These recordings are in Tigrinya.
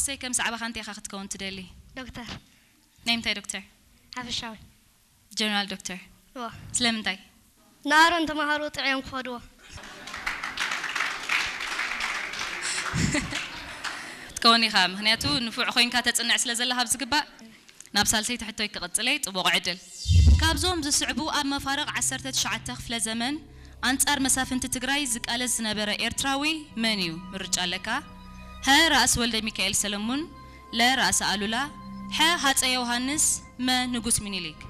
እሰይ፣ ከም ሰዓባኻ እንታይ ኢኻ ክትከውን ትደሊ? ዶክተር። ናይ ምንታይ ዶክተር? ሓፈሻዊ። ጀነራል ዶክተር። እዋ። ስለምንታይ? ንኣሮን ተምሃሮ ጥዕዮም ክኸድዎ። ክትከውን ኢኻ፣ ምኽንያቱ ንፉዕ ኮይንካ ተጽንዕ ስለ ዘለኻ ኣብ ዝግባእ። ናብ ሳልሰይቲ ሕቶይ ክቕጽል እየ። ጽቡቕ ዕድል። ካብዞም ዝስዕቡ ኣብ መፋርቕ ዓሰርተ ትሽዓተ ክፍለ ዘመን ኣንጻር መሳፍንቲ ትግራይ ዝቃለስ ዝነበረ ኤርትራዊ መን እዩ? ምርጫ ኣለካ። ሀ፣ ራእሲ ወልደ ሚካኤል ሰለሙን፣ ለ፣ ራእሲ ኣሉላ፣ ሐ፣ ሃጸይ ዮሃንስ፣ መ፣ ንጉስ ሚኒሊክ።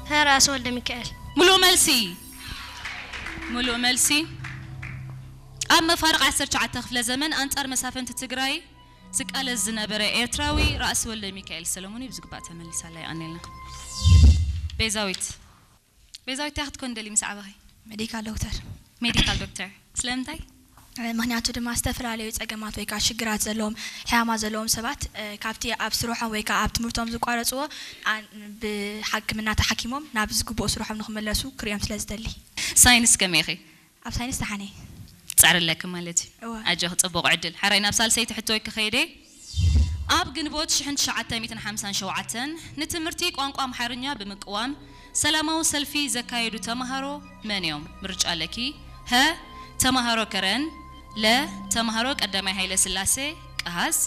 ሀ፣ ራእሲ ወልደ ሚካኤል። ሙሉእ መልሲ። ሙሉእ መልሲ። ኣብ መፋርቕ ዓሰርተ ትሽዓተ ክፍለ ዘመን ኣንጻር መሳፍንቲ ትግራይ ዝቃለስ ዝነበረ ኤርትራዊ ራእሲ ወልደ ሚካኤል ሰለሙን እዩ። ብዝግባእ ተመሊሳላ፣ የቐንየልና። ቤዛዊት። ቤዛዊት፣ እንታይ ክትኮን ደሊ ምስ ዓበኺ? ሜዲካል ዶክተር። ሜዲካል ዶክተር። ስለምንታይ? ምኽንያቱ ድማ ዝተፈላለዩ ጸገማት ወይ ከዓ ሽግራት ዘለዎም፣ ሕማማት ዘለዎም ሰባት፣ እ፣ ካብቲ ኣብ ስርሖም ወይ ከዓ ኣብ ትምህርቶም ዝቋረጽዎ፣ ኣ-፣ ብሕክምና ተሓኪሞም ናብ ዝግብኦ ስርሖም ንኽምለሱ ክርእዮም ስለ ዝደሊ። ሳይንስ ከመይ ኢኺ? ኣብ ሳይንስ ተሓኔ። ትጻዕሪ ኣለኪ ማለት እዩ። እወ። ኣጆኺ፣ ጽቡቕ ዕድል። ሓራይ ናብ ሳልሰይቲ ሕቶይ ክኸይደ። ኣብ ግንቦት ሽሕን ትሽዓተ ሚእትን ሓምሳን ሸውዓተን ንትምህርቲ ቋንቋ ኣምሓርኛ ብምቅዋም ሰላማዊ ሰልፊ ዘካየዱ ተምሃሮ መን እዮም? ምርጫ ኣለኪ። ሀ፣ ተምሃሮ ከረን፣ ለ፣ ተምሃሮ ቀዳማይ ሃይለ ስላሴ ቀሃስ፣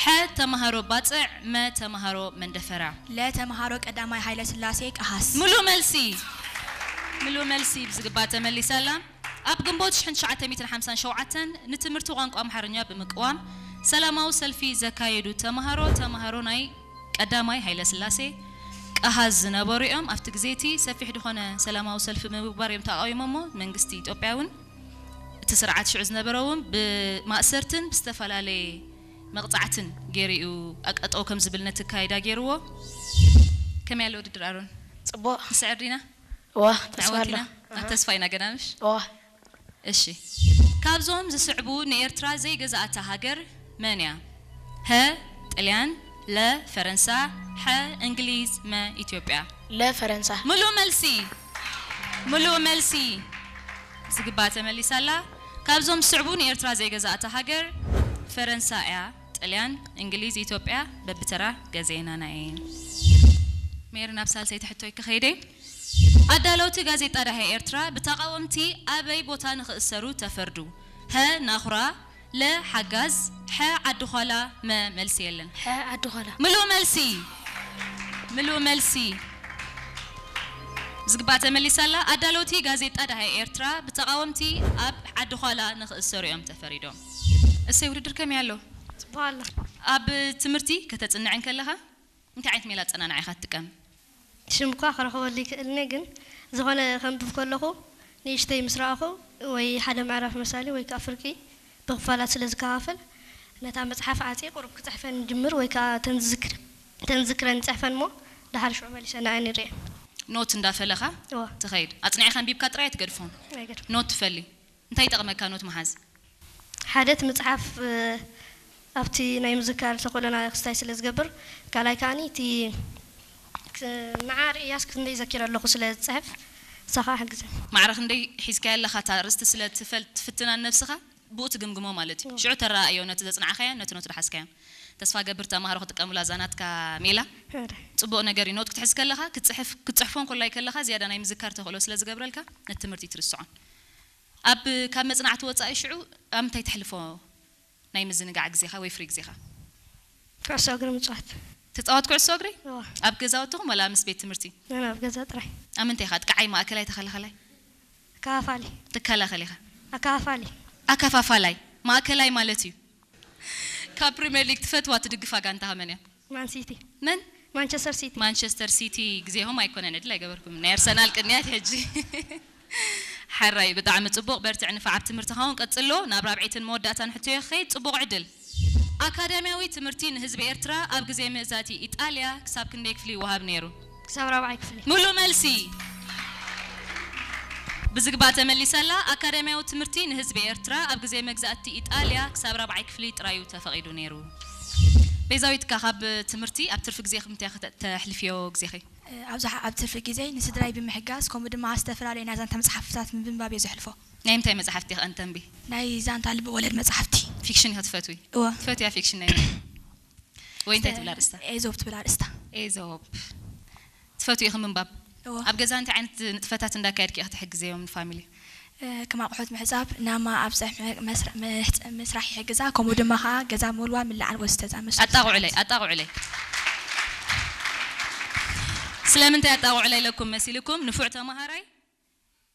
ሐ፣ ተምሃሮ ባጽዕ፣ መ፣ ተምሃሮ መንደፈራ። ለ፣ ተምሃሮ ቀዳማይ ሃይለ ስላሴ ቀሃስ። ሙሉእ መልሲ። ሙሉእ መልሲ ብዝግባእ ተመሊሳ ኣላ። ኣብ ግንቦት ሽሕን ትሽዓተ ሚእትን ሓምሳን ሸውዓተን ንትምህርቲ ቋንቋ ኣምሓርኛ ብምቅዋም ሰላማዊ ሰልፊ ዘካየዱ ተምሃሮ፣ ተምሃሮ ናይ ቀዳማይ ሃይለ ስላሴ ቀሃስ ዝነበሩ እዮም። ኣብቲ ግዜ እቲ ሰፊሕ ዝኾነ ሰላማዊ ሰልፊ ብምግባር እዮም ተቓዊሞሞ። መንግስቲ ኢትዮጵያ እውን፣ እቲ ስርዓት ሽዑ ዝነበረ እውን ብማእሰርትን ብዝተፈላለየ መቕጻዕትን ገይሩ እዩ ኣቀጠው ከም ዝብል ነቲ ኣካይዳ ገይርዎ። ከመይ ኣሎ ውድድር ኣሮን? ጽቡቕ። ንስዕር ዲና? እዋ፣ ተስፋ ኣሎ። ንዕወት ኢና። ኣብ ተስፋ ኢና ገና ምሽ? እዋ። እሺ። ካብዞም ዝስዕቡ ንኤርትራ ዘይገዛኣታ ሃገር መን እያ? ሀ፣ ጥልያን፣ ለ፣ ፈረንሳ፣ ሐ፣ እንግሊዝ፣ መ፣ ኢትዮጵያ። ለ፣ ፈረንሳ። ሙሉእ መልሲ። ሙሉእ መልሲ። ዝግባ ተመሊሳ ኣላ። ካብዞም ዝስዕቡ ንኤርትራ ዘይገዛኣታ ሃገር ፈረንሳ እያ። ጥልያን፣ እንግሊዝ፣ ኢትዮጵያ በብተራ ገዜና ናየን። ሜሪ፣ ናብ ሳልሰይቲ ሕቶይ ክኸይደ። ኣዳለውቲ ጋዜጣ ዳህያ ኤርትራ ብተቓወምቲ ኣበይ ቦታ ንኽእሰሩ ተፈርዱ? ሀ፣ ናኹራ፣ ለ፣ ሓጋዝ፣ ሐ፣ ዓዲ ዃላ፣ መ፣ መልሲ የለን። ሐ፣ ዓዲ ዃላ። ምሉእ መልሲ። ምሉእ መልሲ። ዝግባእ ተመሊሳ ኣላ። ኣዳለውቲ ጋዜጣ ዳህያ ኤርትራ ብተቓወምቲ ኣብ ዓዲ ዃላ ንኽእሰሩ እዮም ተፈሪዶም። እሰይ፣ ውድድር ከመይ ኣሎ? ጽቡቕ ኣሎ። ኣብ ትምህርቲ ከተጽንዕ እንከለኻ እንታይ ዓይነት ሜላ ኣጸናንዓ ኢኻ ትጥቀም? ሽም እኳ ክረኽበሉ ይክእልኒ፣ ግን ዝኾነ ከንብብ ከለኹ ንእሽተይ ምስ ረኣኹ ወይ ሓደ ምዕራፍ መሳሊ ወይ ከዓ ፍርቂ ብኽፋላት ስለ ዝከፋፍል፣ ነታ መጽሓፍ ዓጽየ ቁሩብ ክጽሕፈን ይጅምር ወይ ከዓ ተን ዝዝክር-፣ ተን ዝዝክረን ይጽሕፈን እሞ፣ ደሓር ሽዑ መሊሰ ንኣን ይርእየን። ኖት እንዳፈለኻ እዋ። ትኸይድ። ኣጽኒዕካ ኣንቢብካ ጥራይ ኣይትገድፎን። ኣይገድፎ። ኖት ትፈሊ። እንታይ ይጠቕመካ ኖት ምሓዝ? ሓደ እቲ መጽሓፍ፣ እ፣ ኣብቲ ናይ ምዝካር ተኽእሎና ክስታይ ስለ ዝገብር፣ ካልኣይ ከኣኒ እቲ ክ-፣ ንዓ ርእያስ ክንደይ ዘኪረ ኣለኹ ስለ ዝጽሕፍ፣ ንሳ ኸኣ ሓግዘን። ማዕረ ክንደይ ሒዝካያ ኣለኻ እታ ኣርእስቲ ስለ ትፈል-፣ ትፍትና ንነብስኻ ብኡ ትግምግሞ ማለት እዩ። ሽዑ ተረኣእዮ ነቲ ዘጽናዕካዮ፣ ነቲ ኖት ዝሓዝካዮ። ተስፋ ገብር ተማሃሮ ክጥቀሙላ እዛ ናትካ ሜላ። ሕራይ። ጽቡቕ ነገር እዩ። ኖት ክትሕዝ ከለኻ፣ ክትጽሕፍ፣ ክትጽሕፎ እንኮላይ ከለኻ ዝያዳ ናይ ምዝካር ተኽእሎ ስለ ዝገብረልካ፣ ነቲ ትምህርቲ ትርስዖን። ኣብ፣ ካብ መጽናዕቲ ወጻኢ ሽዑ ኣብ ምንታይ ተሕልፎ ናይ ምዝንጋዕ ግዜኻ ወይ ፍሪ ግዜኻ? ኩዕሶ እግሪ ምጽዋት። ትጻወት ኩዕሶ እግሪ? እዋ። ኣብ ገዛውትኹም ወላ ምስ ቤት ትምህርቲ? ኣነ ኣብ ገዛ ጥራይ። ኣብ ምንታይ ኢኻ? ኣጥቃዓይ፣ ማእከላይ፣ ተኸላኸላይ? ኣከፋፋሊ። ትከላኸል ኢኻ? ኣከፋፋሊ። ኣከፋፋላይ፣ ማእከላይ ማለት እዩ። ካብ ፕሪምየር ሊግ ትፈትዋ ትድግፋ ጋንታኻ መን እያ? ማን ሲቲ። መን? ማንቸስተር ሲቲ። ማንቸስተር ሲቲ ግዜኹም ኣይኮነን፣ ዕድል ኣይገበርኩም። ናይ ኣርሰናል ቅንያት ሕጂ። ሓራይ፣ ብጣዕሚ ጽቡቕ፣ በርትዕ፣ ንፋዕ ኣብ ትምህርትኻ እውን ቀጽሎ። ናብ ራብዐይትን መወዳእታን ሕቶዮ ክኸይድ፣ ጽቡቕ ዕድል። ኣካዳሚያዊ ትምህርቲ ንህዝቢ ኤርትራ ኣብ ግዜ መግዛእቲ ኢጣልያ ክሳብ ክንደይ ክፍሊ ይወሃብ ነይሩ? ክሳብ ራብዓይ ክፍሊ። ምሉእ መልሲ። ብዝግባእ ተመሊሳ ኣላ። ኣካዳሚያዊ ትምህርቲ ንህዝቢ ኤርትራ ኣብ ግዜ መግዛእቲ ኢጣልያ ክሳብ ራብዓይ ክፍሊ ጥራይ እዩ ተፈቒዱ ነይሩ። ቤዛዊት፣ ካብ ትምህርቲ ኣብ ትርፊ ግዜኺ እንታይ ኢኺ ተ-፣ ተሕልፍዮ ግዜኺ? ኣብዝሓ ኣብ ትርፊ ግዜ ንስድራይ ብምሕጋዝ፣ ከምኡ ድማ ዝተፈላለዩ ናይ ዛንታ መጽሓፍታት ብምንባብ እየ ዘሕልፎ። ናይ ምንታይ መጽሓፍቲ ኢኺ ኣንተንቢ? ናይ ዛንታ ልቢ ወለድ መጽሓፍቲ። ፊክሽን ኢኺ ትፈትዊ? እወ። ትፈትያ ፊክሽን ናይ መን? ወይ እንታይ ትብላ ርእስታ? ኤዞብ ትብል ኣርእስታ። ኤዞብ። ትፈትዊ ኢኺ ምንባብ? እወ። ኣብ ገዛ እንታይ ዓይነት ንጥፈታት እንዳካየድኪ ኢኺ ትሕግዝዮም ንፋሚሊ? ከም ኣቑሑት ምሕጻብ፣ ናማ ኣብ ጸሕ መስርሕ ይሕግዛ፣ ከምኡ ድማ ኸዓ ገዛ ምውልዋል፣ ምልዓል ወዘተ ዝኣመሰሉ ኣጣቕዑለይ ኣጣቕዑለይ። ስለምንታይ ኣጣቕዑለይ ኢለኩም መሲልኩም? ንፉዕ ተማሃራይ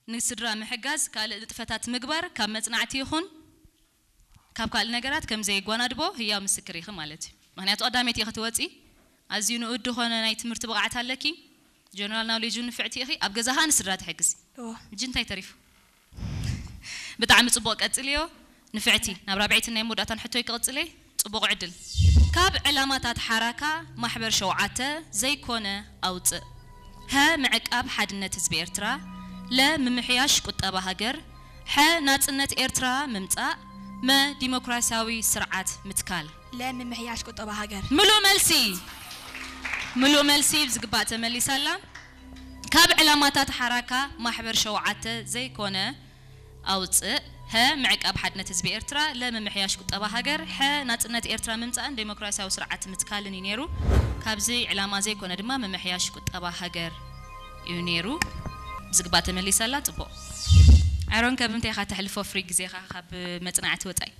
ንስድራ ምሕጋዝ፣ ካልእ ንጥፈታት ምግባር ካብ መጽናዕቲ ይኹን ካብ ካልእ ነገራት ከም ዘየጓናድቦ ህያው ምስክር ኢኺ ማለት እዩ። ምኽንያቱ ቀዳመይቲ ኢኺ ትወጺ፣ ኣዝዩ ንኡድ ዝኾነ ናይ ትምህርቲ ብቕዓት ኣለኪ፣ ጀነራል ናውሌጅ ንፍዕቲ ኢኺ፣ ኣብ ገዛ ኸኣ ንስድራ ትሕግዚ። እወ። ሕጂ እንታይ ተሪፉ? ብጣዕሚ ጽቡቕ ቀጽልዮ ንፍዕቲ። ናብ ራብዐይትን ናይ መወዳእታን ሕቶይ ክቕጽል እየ። ጽቡቕ ዕድል። ካብ ዕላማታት ሓራካ ማሕበር ሸውዓተ ዘይኮነ ኣውጽእ። ሀ ምዕቃብ ሓድነት ህዝቢ ኤርትራ፣ ለ ምምሕያሽ ቁጠባ ሃገር፣ ሐ ናጽነት ኤርትራ ምምጻእ፣ መ ዲሞክራሲያዊ ስርዓት ምትካል። ለ ምምሕያሽ ቁጠባ ሃገር። ምሉእ መልሲ ምሉእ መልሲ ብዝግባእ ተመሊሳ ኣላ። ካብ ዕላማታት ሓራካ ማሕበር ሸውዓተ ዘይኮነ ኣውጽእ፣ ሀ ምዕቃብ ሓድነት ህዝቢ ኤርትራ፣ ለ ምምሕያሽ ቁጠባ ሃገር፣ ሐ ናጽነት ኤርትራ ምምጻእን ዴሞክራሲያዊ ስርዓት ምትካልን እዩ ነይሩ። ካብዚ ዕላማ ዘይኮነ ድማ ምምሕያሽ ቁጠባ ሃገር እዩ ነይሩ። ብዝግባእ ተመሊሳ ኣላ። ጽቡቕ። ኣሮን ከብ እንታይ ኢኻ ተሕልፎ ፍሪ ግዜኻ ካብ መጽናዕቲ ወጻኢ?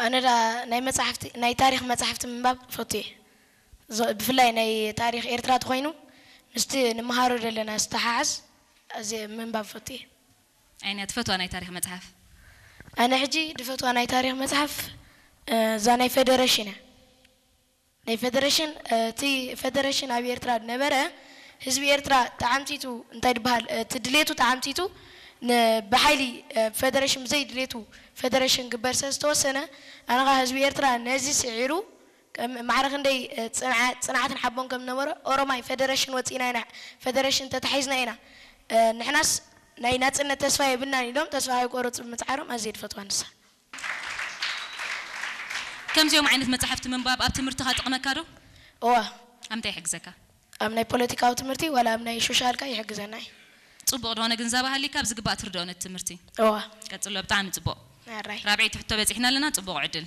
ኣነ ዳ ናይ መጽሓፍቲ ናይ ታሪኽ መጽሓፍቲ ምንባብ ፈቱ እየ። ዞ- ብፍላይ ናይ ታሪኽ ኤርትራ ተኾይኑ ምስቲ ንመሃሮ ዘለና ዝተሓሓዝ ኣዝየ ምንባብ ፈቱ እየ። ኣይንያ ትፈትዋ ናይ ታሪኽ መጽሓፍ? ኣነ ሕጂ ድፈትዋ ናይ ታሪኽ መጽሓፍ እ፣ እዛ ናይ ፌደሬሽን እያ። ናይ ፌደሬሽን እ፣ እቲ ፌደሬሽን ኣብ ኤርትራ ዝነበረ ህዝቢ ኤርትራ ተዓምቲቱ እንታይ ድበሃል እ፣ እቲ ድሌቱ ተዓምቲቱ ን- ብሓይሊ እ፣ ፌደሬሽን ብዘይ ድሌቱ ፌደሬሽን ግበር ስለ ዝተወሰነ ኣነ ኸዓ ህዝቢ ኤርትራ ነዚ ስዒሩ ከም ማዕረ ክንደይ እ፣ ጽንዓ- ጽንዓትን ሓቦን ከም ዝነበሮ ኦሮማይ ፌደሬሽን ወጺእና ኢና ፌደሬሽን ተታሒዝና ኢና እ፣ ንሕናስ ናይ ናጽነት ተስፋ የብልናን ኢሎም ተስፋ ከይቆረጹ ብምጽዓሮም ኣዝየ ድፈትዋ ንሳ። ከምዚኦም ዓይነት መጻሕፍቲ ምንባብ ኣብ ትምህርትኻ ጥቕመካ ዶ? እዋ ኣብ ምንታይ ይሕግዘካ? ኣብ ናይ ፖለቲካዊ ትምህርቲ ዋላ ኣብ ናይ ሶሻልካ ይሕግዘና እዩ። ጽቡቕ ዝኾነ ግንዛበ ሃሊካ ብዝግባእ ትርድኦ ነቲ ትምህርቲ። እዋ ቀጽሎ፣ ብጣዕሚ ጽቡቕ። ኣራይ ራብዐይቲ ሕቶ በጺሕና ኣለና፣ ጽቡቕ ዕድል።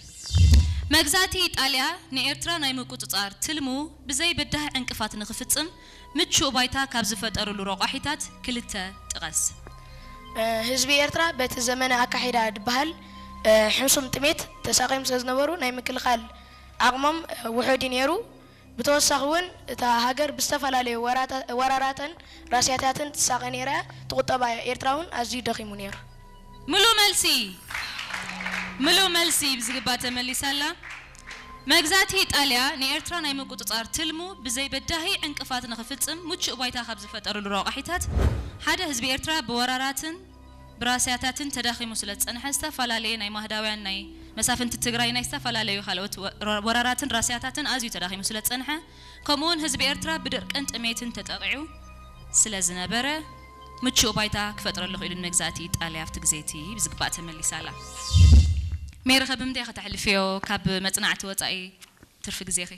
መግዛእቲ ኢጣልያ ንኤርትራ ናይ ምቁጽጻር ትልሙ ብዘይ በዳሂ ዕንቅፋት ንኽፍጽም ምቹእ ባይታ ካብ ዝፈጠርሉ ረቋሒታት ክልተ ጥቐስ። እ፣ ህዝቢ ኤርትራ በቲ ዘመነ ኣካሒዳ ድበሃል እ፣ ሕሱም ጥሜት ተሳቒዮም ስለ ዝነበሩ ናይ ምክልኻል ዓቕሞም እ፣ ውሑድ እዩ ነይሩ። ብተወሳኺ እውን እታ ሃገር ብዝተፈላለዩ ወራታ- ወራራትን ራስያታትን ትሳቐ ነይራ እያ። እቲ ቁጠባ ኤርትራ እውን ኣዝዩ ደኺሙ ነይሩ። ምሉእ መልሲ ምሉእ መልሲ ብዝግባእ ተመሊሳ ኣላ። መግዛእቲ ኢጣልያ ንኤርትራ ናይ ምቁጽጻር ትልሙ ብዘይ በዳሂ ዕንቅፋት ንኽፍጽም ምቹእ ባይታ ካብ ዝፈጠርሉ ረቋሒታት ሓደ ህዝቢ ኤርትራ ብወራራትን ብራስያታትን ተዳኺሙ ስለ ዝጸንሐ ዝተፈላለየ ናይ ማህዳውያን ናይ መሳፍንቲ ትግራይ ናይ ዝተፈላለዩ ካልኦት ወ- ወራራትን ራስያታትን ኣዝዩ ተዳኺሙ ስለ ዝጸንሐ ከምኡውን ህዝቢ ኤርትራ ብድርቅን ጥሜትን ተጠቒዑ ስለ ዝነበረ ምቹእ ባይታ ክፈጥረሉ ክኢሉ ንመግዛእቲ ኢጣልያ ኣብቲ ግዜ እቲ ብዝግባእ ተመሊሳ ኣላ። ሜሪ ከ ብምንታይ ከተሕልፍዮ ካብ መጽናዕቲ ወጻኢ ትርፊ ግዜኺ?